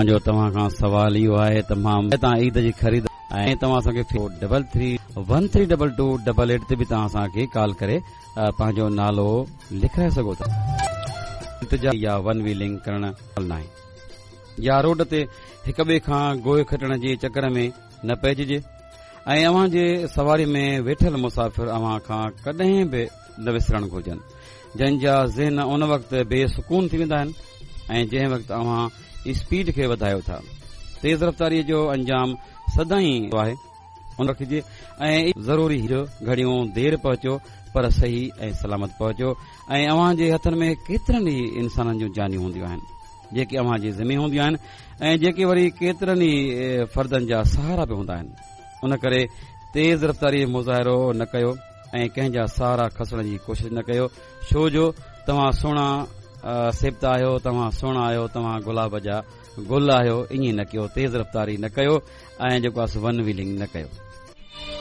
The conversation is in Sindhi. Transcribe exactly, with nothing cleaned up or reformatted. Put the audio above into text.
جو توهان کان سوال اهو آهي ته مان توهان عيد جي خريد ۽ توهان اسان کي double three one three double two double eight تي به توهان اسان کي ڪال ڪري پنهنجو نالو لکرائي سگهو ٿا. التجا يا ون ويلنگ ڪرڻ ناهي يا روڊ تي هڪ ٻئي کان گوءِ کٽڻ جي چڪر ۾ نه پئججي ۽ اوهان جي سواري ۾ ويٺل مسافر اوهان کان ڪڏهن به نه وسرڻ گهرجن، جن جا ذهن ان وقت بي سڪون ٿي ويندا آهن ۽ جنهن وقت اوهان اسپيڊ کي وڌايو ٿا. تيز رفتاريء جو انجام سدائين آهي ان رکجي ۽ ضروري گهڙيون دير پهچو پر صحيح ۽ سلامت پهچو ۽ اوهان جي هٿن ۾ ڪيترن ئي انسانن جون جانيون هونديون آهن جيڪي اوهان جي ذمي هونديون آهن ۽ جيڪي وري ڪيترن ئي فردن جا سهارا به هوندا آهن. ان ڪري تيز رفتاري جو مظاهرو نه ڪيو ۽ ڪنهن جا سهارا کسڻ جي ڪوشش نه ڪيو، ڇو جو توهان سهڻا سيبتا آهيو، توهان سهڻا آهيو، توهان گلاب جا گل آهيو. ائين نه ڪيو، تيز رفتاري نه ڪيو ۽ جيڪو آهي ون ويلنگ نه ڪيو.